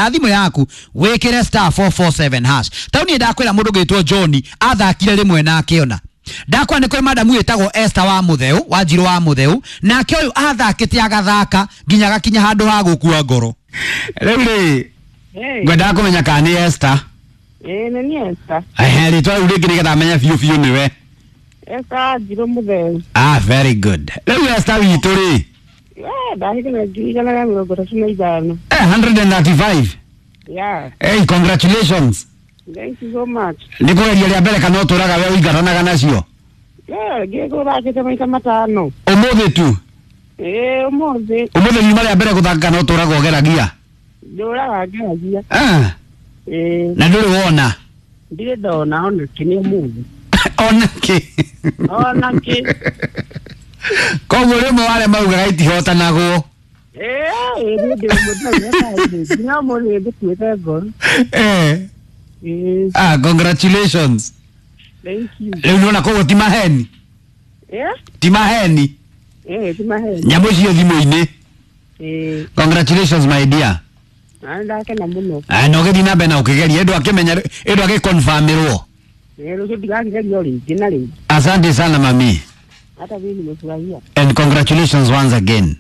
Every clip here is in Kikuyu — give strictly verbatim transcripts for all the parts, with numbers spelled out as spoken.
Thimũ yaku wĩkĩre star four four seven hash. Tau niĩ ndakwĩra mũndũ ũgĩtwo John athakire rĩmwe na akĩona. Ndakwa nĩ kũrĩ madamu ĩtagwo Esther wa Mũtheu, wa Njirũ wa Mũtheu, nake ũyũ athakĩte agathaka nginya agakinya handũ ha gũkua ngoro. Rĩu rĩ, Hey. ngwendaga kũmenya kana nĩ Esther. Ĩĩ nĩ niĩ Esther. Ehe, rĩtwa rĩu rĩngĩ nĩgetha menye biũ biũ nĩwe. Esther wa Njirũ Mũtheu. Ah, very good. Rĩu Esther witũ rĩ, Eh, ndahĩtũka ngiri igana rĩa mĩrongo ĩtatũ na ithano. eh, one hundred thirty-five. Yeah. Hey, congratulations. Thank you so much. Nĩ kũgeria rĩa mbere kana ũtũraga we ũingatanaga nacio? Yeah, ngĩgũthakĩte maita matano. Ũmũthĩ tu? Ĩĩ, ũmũthĩ. Ũmũthĩ riuma rĩa mbere gũthaka kana ũtũraga ũgeragia? Ndũraga ngeragia. Ah, Ĩĩ. na ndũrĩ wona? Ndirĩ ndona ona kĩ nĩ ũmũthĩ. Ona kĩ? Ona kĩ. Koguo rĩmwe warĩa maugaga itihotanagwo. Ĩĩ, niĩ ndĩ ũmwe nginya ũmũthĩ ngũtuĩte ngoro. Eh. Ĩĩ. Ah, congratulations. Thank you. Rĩu nĩwona koguo ti maheni. Yeah? Ti maheni. Ĩĩ, ti maheni. Nyamũ icio thimũ-inĩ. Ĩĩ. Congratulations, my dear. Na ndakena mũno. Ah, na ũgĩthiĩ na mbere na ũkĩgeria ĩndũ akĩmenya ĩndũ agĩconfirmĩrwo. Ĩĩ, rũciũ ndigakĩgeria o rĩngĩ na rĩngĩ. Asante sana, mami. Hata mimi nimefurahia. And congratulations once again.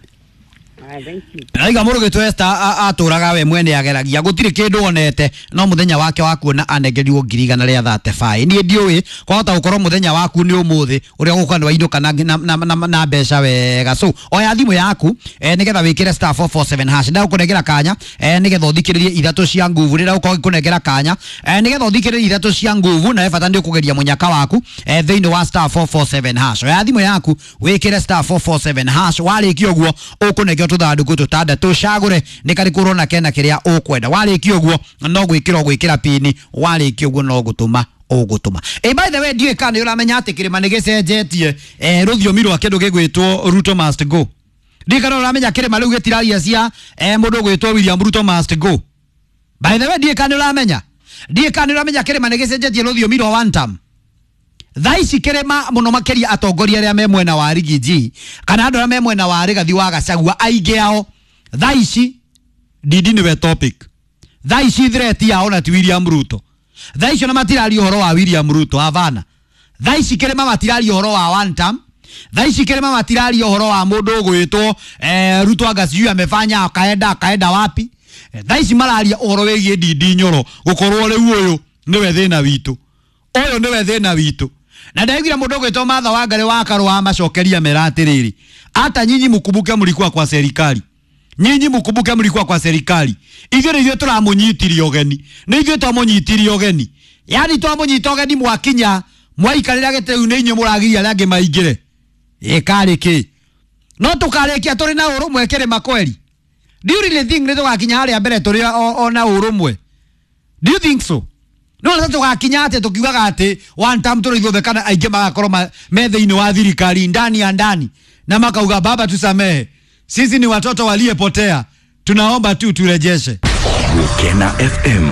Ah, thank you. Aiga mũndũ gĩtwo Esther atũraga we mwene ageragia gũtirĩ kĩndũ onete no mũthenya wake wa kuona anengerirwo ngiri igana rĩa thirty-five. Niĩ ndiũĩ kwahota gũkorwo mũthenya waku nĩ ũmũthĩ ũrĩa ũgũkorwo nĩ wainũka na, na, na, na, na mbeca wega. So oya thimũ yaku eh, nĩgetha wĩkĩre star four four seven hash. Ndagũkũnengera kanya eh, nĩgetha ũthikĩrĩrie ithatũ cia nguvu. Rĩrĩa ũkorwo ngĩkũnengera kanya eh, nĩgetha ũthikĩrĩrie ithatũ cia nguvu na we bata nĩ ũkũgeria mũnyaka waku eh, thĩinĩ wa star four four seven hash. Oya thimũ yaku wĩkĩre star four four seven hash. Warĩkia ũguo ũkũnengerwo tũthandũkũ tũtandatũ, ũcagũre nĩ karĩkũ ũrona kena kĩrĩa ũkwenda. Warĩkia ũguo no gwĩkĩra ũgwĩkĩra pini, warĩkia ũguo no gũtũma ũgũtũma. Eh, by the way, ndiũĩ kana nĩ ũramenya atĩ kĩrĩma nĩ gĩcenjetie eh, rũthiomi rwa kĩndũ gĩgwĩtwo Ruto must go. Ndiũĩ kana ũramenya kĩrĩma rĩu gĩtiraria cia eh, mũndũ ũgwĩtwo William Ruto must go. By the way, ndiũĩ kana nĩ ũramenya, ndiũĩ kana nĩ ũramenya kĩrĩma nĩ gĩcenjetie rũthiomi rwa one term. Thaa ici kĩrĩma mũno makĩria atongoria arĩa me mwena wa Rigiji kana andũ arĩa me mwena wa Rigathi wa Gachagua aingĩ ao thaa ici Ndindi nĩwe topic. Thaa ici threat yao na ti William Ruto. Thaa ici ona matiraria ũhoro wa William Ruto, havana. Thaa ici kĩrĩma matiraria ũhoro wa one term. Thaa ici kĩrĩma matiraria ũhoro wa mũndũ ũgwĩtwo eh, Ruto anga sijui amefanya akaenda akaenda wapi. Eh, thaa ici mararia ũhoro wĩgiĩ Ndindi Nyoro gũkorwo rĩu ũyũ nĩwe thĩna witũ. Ũyũ nĩwe thĩna witũ. Na ndaiguire mũndũ ũgwĩtwo Martha Wangari wa Karũa amacokeria mera atĩrĩrĩ, hata nyinyi mkumbuke mlikuwa kwa serikali. Nyinyi mkumbuke mlikuwa kwa serikali. Ithuĩ nĩ ithuĩ tũramũnyitirie ũgeni. Nĩ ithuĩ twamũnyitirie ũgeni. Yaani twamũnyita ũgeni mwakinya mwaikarĩra gĩtĩ rĩu nĩ inyuĩ mũragiria arĩa angĩ maingĩre. Ĩ karĩ kĩ? No tũkarĩkia tũrĩ na ũrũmwe kĩrĩma kweri. Do you really think nĩ tũgakinya harĩa mbere tũrĩ o, o na ũrũmwe? Do you think so? No na tũgakinya atĩ tũkiugaga atĩ one term tũrĩ ithuothe kana aingĩ magakorwo ma-, me thĩinĩ wa thirikari ndani ya ndani na makauga baba tusamehe, sisi ni watoto waliyepotea, tunaomba tu turejeshe. Gukena F M.